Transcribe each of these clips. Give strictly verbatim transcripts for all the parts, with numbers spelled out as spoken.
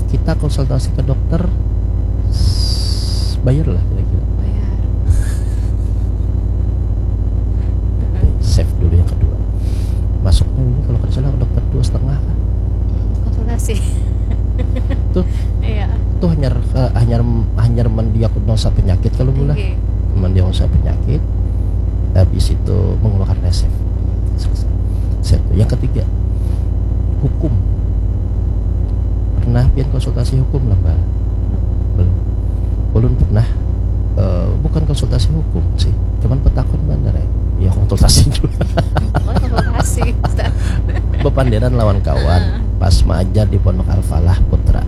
kita konsultasi ke dokter, s- bayar lah kira-kira. Bayar. Save dulu yang kedua. Masuknya ini kalau kada salah dokter dua setengah kan? Konsultasi. Tuh, Iya. Tuh hanyar eh, hanyar hanyar mendiagnosa penyakit kalau mula. Oke. Mendiagnosa penyakit, habis itu mengeluarkan resep. Selesai. Save. Yang ketiga, hukum. Pernah pian konsultasi hukum lah, Mbak? Belum. Ulun pernah, eh, bukan konsultasi hukum sih, cuman petakun bener ya. Ya konsultasi juga. Oh, konsultasi. Ustaz. Bepanderan lawan kawan pas maajar di Pondok Al-Falah Putra.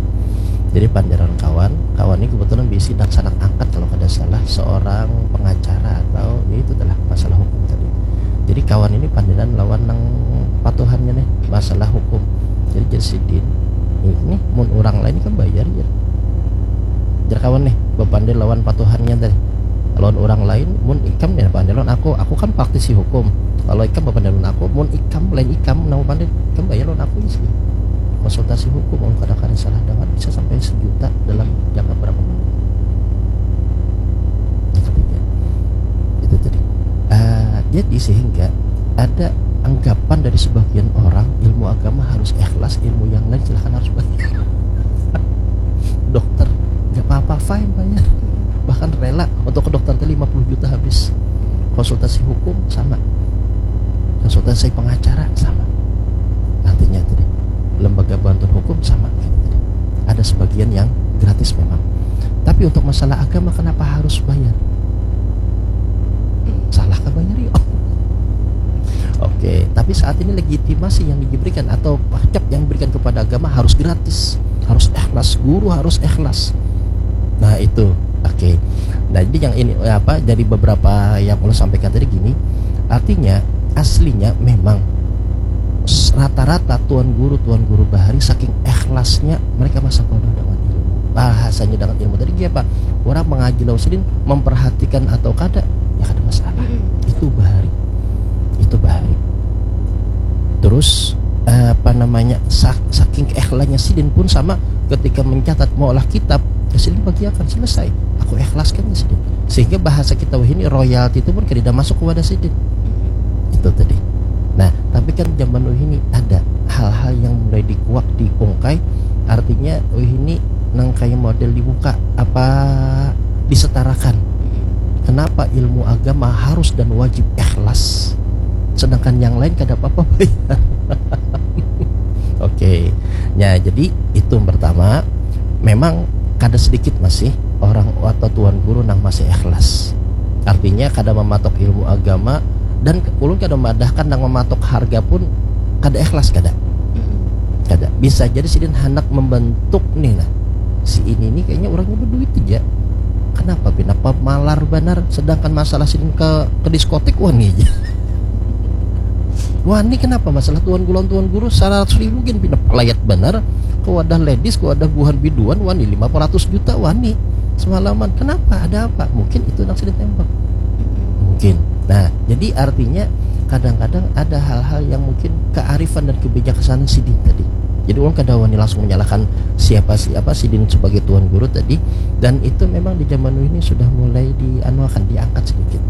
Jadi panderan kawan, kawan ini kebetulan bisi daksanak angkat kalau kada salah, seorang pengacara atau ya itu adalah masalah hukum tadi. Jadi kawan ini panderan lawan nang patuhannya nih masalah hukum. Jadi jadi sidin ini mun orang lain kan bayar ya. Jar kawan nih bepander lawan patuhannya tadi. Lawan orang lain, mun ikam nih bepander lawan aku, aku kan praktisi hukum. Kalau ikam bepander lawan aku, mun ikam lain ikam nang bepander, ikam bayar lawan aku sih. Konsultasi hukum, kalau kadang-kadang salah dengar bisa sampai sejuta dalam jangka berapa menit. Yang ketiga, itu tadi. Ah, jadi sehingga ada anggapan dari sebagian orang ilmu agama harus ikhlas, ilmu yang lain silahkan harus bayar. Dokter nggak apa-apa, fine, bayar, bahkan rela untuk ke dokter tadi lima puluh juta habis. Konsultasi hukum sama, konsultasi pengacara sama. Artinya tadi lembaga bantuan hukum sama gitu tadi. Ada sebagian yang gratis memang, tapi untuk masalah agama kenapa harus bayar? Salah kah bayar yuk? Oke, tapi saat ini legitimasi yang diberikan atau pajak yang diberikan kepada agama harus gratis, harus ikhlas, guru harus ikhlas. Nah itu, oke. Nah jadi yang ini eh, apa? Dari beberapa yang ulun sampaikan tadi gini, artinya aslinya memang s- rata-rata tuan guru tuan guru bahari saking ikhlasnya mereka masa bodoh dengan ilmu, bahasanya dengan ilmu tadi apa? Orang mengaji lawan sidin memperhatikan atau kada, ya kada masalah. Itu bahari, itu bahari. Terus eh, apa namanya sak- saking keikhlasannya sidin pun sama, ketika mencatat maulah kitab ya sidin bagiakan, selesai, aku ikhlaskan ya sidin, sehingga bahasa kita wahini royalti itu pun kada masuk ke wadah sidin. Itu tadi. Nah tapi kan zaman wahini ada hal-hal yang mulai dikuak diungkai, artinya wahini nang kayak model dibuka apa disetarakan. Kenapa ilmu agama harus dan wajib ikhlas, sedangkan yang lain kada apa-apa bayar? Oke, ya jadi itu yang pertama. Memang kada sedikit masih orang atau tuan guru nang masih ikhlas, artinya kada mematok ilmu agama. Dan ulun kada memadahkan nang mematok harga pun kada ikhlas, kada. Kada. Bisa jadi sidin hendak membentuk nih nah, si ini nih kayaknya orangnya berduit aja, kenapa pina pemalar banar, sedangkan masalah sidin ke ke diskotik wani aja. Wani kenapa? Masalah tuan guru tuan guru seratus ribu gin pina pelayat banar, ke wadah ladies, ke wadah buhan biduan wani lima ratus juta wani semalaman. Kenapa, ada apa? Mungkin itu nang sidin tembak, mungkin. Nah jadi artinya kadang-kadang ada hal-hal yang mungkin kearifan dan kebijaksanaan sidin tadi. Jadi orang kada wani langsung menyalahkan siapa siapa sidin sebagai tuan guru tadi. Dan itu memang di zaman ini sudah mulai dianuakan, diangkat sedikit.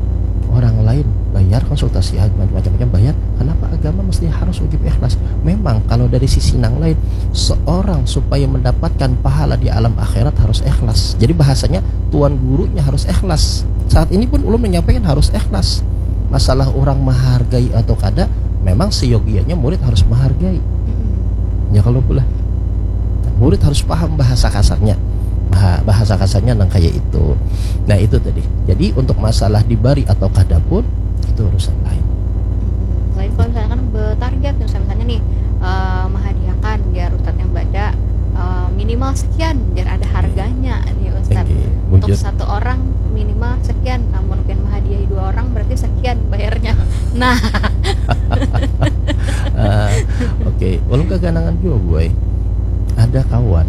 Orang lain bayar konsultasi macam-macam bayar, kenapa agama mesti harus wajib ikhlas? Memang kalau dari sisi nang lain, seorang supaya mendapatkan pahala di alam akhirat harus ikhlas. Jadi bahasanya tuan gurunya harus ikhlas. Saat ini pun ulun menyampaikan harus ikhlas. Masalah orang menghargai atau kada, memang seyogianya murid harus menghargai. Ya kalau pula murid harus paham bahasa kasarnya, bahasa kasarnya nang kayak itu. Nah itu tadi. Jadi untuk masalah dibari atau kada pun itu urusan lain. Lain kalau misalkan bertarget misalnya nih, uh, menghadiahkan biar ustadz yang baca uh, minimal sekian biar ada harganya nih ustadz. Untuk satu orang minimal sekian, namun pian menghadiahi dua orang berarti sekian bayarnya. Nah. uh, Oke, okay. Ulun keganangan juga boy. Ada kawan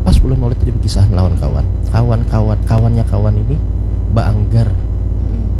pas bulan maulid tadi berkisah lawan kawan kawan kawan kawannya kawan ini baanggar